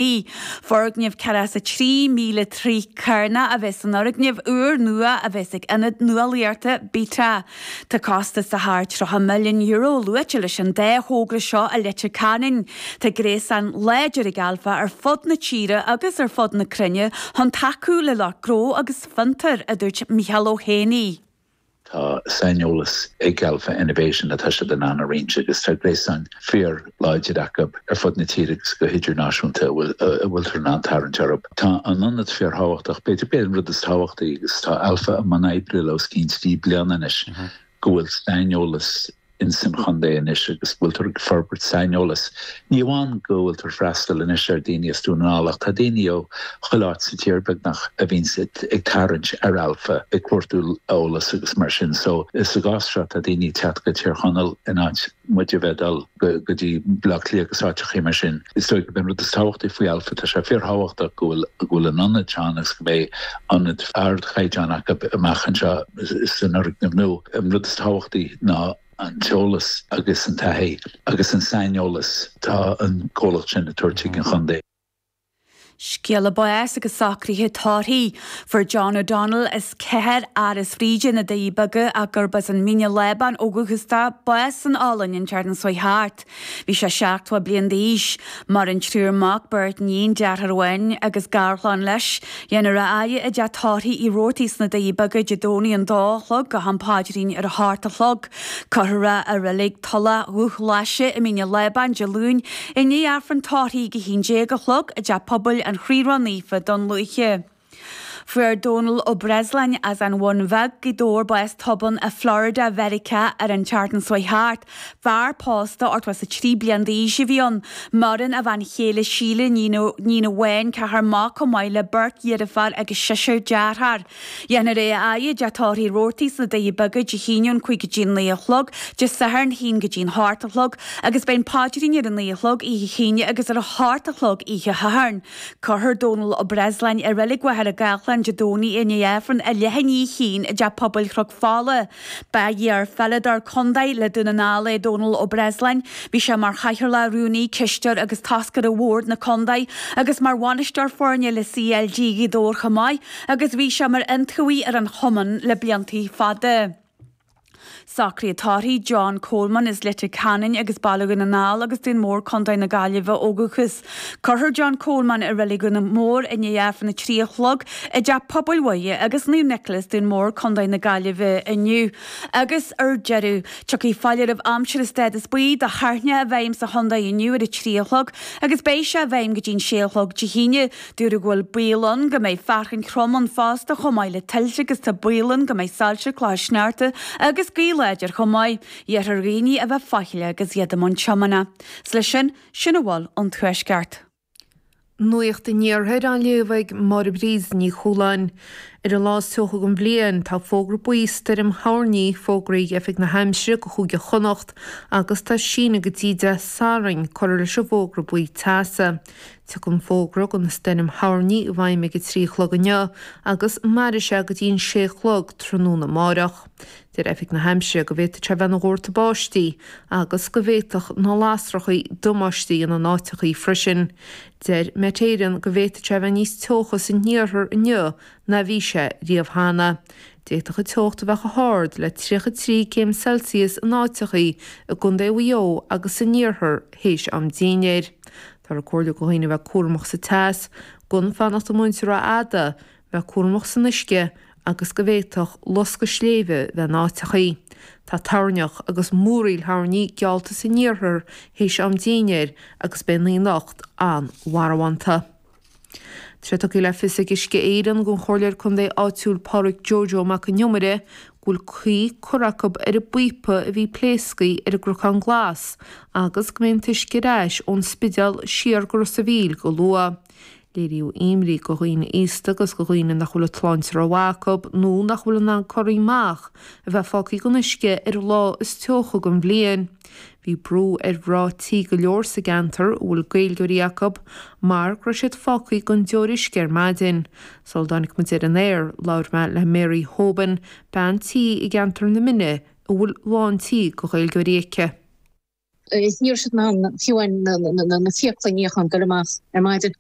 Foirgneamh 43,000 troigh carnach a bheas san fhoirgneamh úr nua a bheas ag Ionad Nuálaíochta Beta. Tá costas de thar €30 milliún luaite leis an dá thogra seo i Leitir Ceanainn. Tá gréasán láidir ag Alpha ar fud na tíre agus ar fud na cruinne chun tacú le lucht gnó agus fiontar, a dúirt Micheál Ó hÉanaí. Tá saineolas ag Alpha Innovation atá siad in ann a roinnt agus tá gréasán fíor-láidir acu ar fud na tíre agus go hidirnáisiúnta a bhfuiltear in ann tarraingt orthu. Tá an ionad fíorthábhachtach, b'fhéidir gurb é an rud is tábhachtaí agus tá Alpha i mbun oibre le os cionn 3 bliana anois, go bhfuil saineolas ins an chontae anois agus go bhfuiltear ag forbairt saineolas. Ní amháin go bhfuiltear freastal anois ar daoine as Dún na nGall ach tá daoine ó chuile áit sa tír beagnach a bhíonns ag tarraingt ar Alpha ag cuartú eolas agus mar sin. So sa gcás seo tá daoine ag teacht go Tír Chonaill in áit muid a bheith ag dul go dtí Baile Átha Cliath agus áiteachaí mar sin. Is dóigh gurb é an rud is tábhachtaí faoi Alpha, tá sé fíorthábhachtach go bhfuil go bhfuil an ionad seo ann agus go mbeidh ionad ardchaighdeáin acu amach anseo san fhoirgneamh nua. An rud is tábhachtaí ná an t-eolas agus an taithí agus an saineolas atá an comhlacht sin ag tabhairt chuig an chontae. Scéala báis agus socruithe tórraimh. Fuair John O'Donnell as Cathair Áras Bhríde, na Doirí Beaga ach gurb as an Mín an Lábáin ó dhúchas dó, bás san Ollainn an tseachtain seo thart. Bhí sé 70 bliain d'aois. Maireann triúr mac, beirt níon, deartháir amháin agus garchlann leis. Dhéanfar a fhaire i dteach tórraimh Uí Robhartaigh sna Doirí Beaga Dé Domhnaigh an dó a chlog go ham paidrín ar a hocht a chlog. Cuirfear é i reilig Tulach Dhubhghlaise i Mín an Lábáin Dé Luain i ndiaidh Aifreann tórraimh ag a 11 a chlog i dTeach Pobail an Chroí Ró-Naofa, Dún Lúiche. Fuair Dónal Ó Breasláin as an Bhun Bheag, Gaoth Dobhair bás tobann i Florida, Mheiriceá ar an tseachtain seo thart. Fear pósta 83 bliain d'aois a bhí ann. Maireann a bhean chéile Síle, níon amháin, ceathrar mac chomh maith le beirt dheirféar agus seisear dearthár. Dhéanfar é a fhaire i dteach tórraimh Uí Robhartaigh sna Doirí Beaga Dé hAoine ón 5 go dtí an 9 a chlog, Dé Sathairn 1 go dtí an 8 a chlog, agus beidh an paidrín ar a 9 a chlog oíche hAoine agus ar a 8 a chlog oíche Shathairn. Cuirfear Dónal Ó Breasláin i Reilig Mhachaire Gathlán Dé Domhnaigh i ndiaidh Aifreann a leath i ndiaidh a haon i dTeach Pobail Chnoc Fola. Ba iar-pheileadóir contae le Dún na nGall é Dónal Ó Breasláin. Bhí sé mar chathaoirleach, rúnaí, cisteoir agus toscaire bhord na contae agus mar bhainisteoir foirne le CLG Ghaoth Dobhair chomh maith. agus bhí sé mar iontaobhaí ar an chumann le blianta fada. Socruithe tórraimh John Coleman as Leitir Ceanainn agus Baile Dhún na nGall agus Dún Mór, Co. na Gaillimhe ó dhúchas. Cuirfear John Coleman i Reilig Dhún Mór i ndiaidh Aifreann 3 a chlog i dTeach Pobail Mhuire agus Naomh Nicholas, Dún Mór, Co. na Gaillimhe inniu. Agus ar deireadh, tiocfaidh foláireamh aimsire stádas buí do thoirneach i bhfeidhm sa chontae inniu ar a 3 a chlog agus beidh sé i bhfeidhm go dtí'n 6 a chlog Dé hAoine. Dúradh go bhfuil baol ann go mbeidh fearthainn throm ann fosta chomh maith le tuilte agus tá baol ann go mbeidh soilse, clocha sneachta agus gaoth láidir chomh maith. Iarrthar ar dhaoine a bheith faichilleach agus iad i mbun tiomána. 'S leis sin, sin a bhfuil ón Tuaisceart. Nuacht an Iarthair á léamh ag Máire Bríd Ní Chualáin. Ar an lá is teocha den bhliain, tá fógra buí stoirm thoirní fógraithe ag Oifig na hAimsire go Chúige Chonnacht agus tá síneadh go dtí Dé Sathairn curtha leis an bhfógra buí teasa. Tiocfaidh an fógra do na stoirm thoirní i bhfeidhm ag a 3 a chlog inniu agus mairfidh sé go dtí an 6 a chlog tráthnóna amáireach. Deir Oifig na hAimsire go bhféadfadh sé bheith ina dhórtadh báistí agus go bhféadfadh na lasrachaí damáiste a dhéanamh in áiteachaí freisin. Deir Met Éireann go bhféadfadh sé bheith níos teocha san iarthar inniu ná bhí sé riamh cheana. D'fhéadfadh an teocht a bheith chomh hard le 33 céim Celsius in áiteachaí i gContae Mhaigh Eo agus san iarthar théis am dinnéir. Táthar ag comhairliú do dhaoine a bheith cúramach sa teas, gan fanacht amuigh ansin rófhada, bheith cúramach san uisce agus go bhféadfadh loscadh sléibhe bheith in áiteachaí. Tá toirneach agus múraíl thoirní geallta san iarthar théis am dinnéir agus beidh an oíche anocht an-mharbhánta. Tá sé tugtha le fios ag Uisce Éireann don Chomhairleoir Contae áitiúil Pádraig Joe Joe Mac an Iomaire go bhfuil caoi curtha acu ar an bpíopa a bhí pléasctha ar an gCnocán Glas agus go mbeidh an t-uisce ar ais ón Spidéal siar go Ros a' Mhíl go luath. Léiríodh imní do dhaoine aosta agus do dhaoine nach bhfuil an tsláinte rómhaith acu nó nach bhfuil in ann corraí amach a bheith fágtha gan uisce ar an lá is teocha den bhliain. Bhí brú ar mhná tí go leor sa gceantar a bhfuil Gaeilgeoirí acu mar go raibh siad fágtha gan deoir uisce ar maidin. Sula dtáinig muid ar an aer, labhair mé le Mary Hoban, bean tí i gceantar na Mine a bhfuil lán tí de Ghaeilgeoirí aici. Ní raibh siad in ann fiú amháin na fiacla a níochán ag goil amach ar maidin.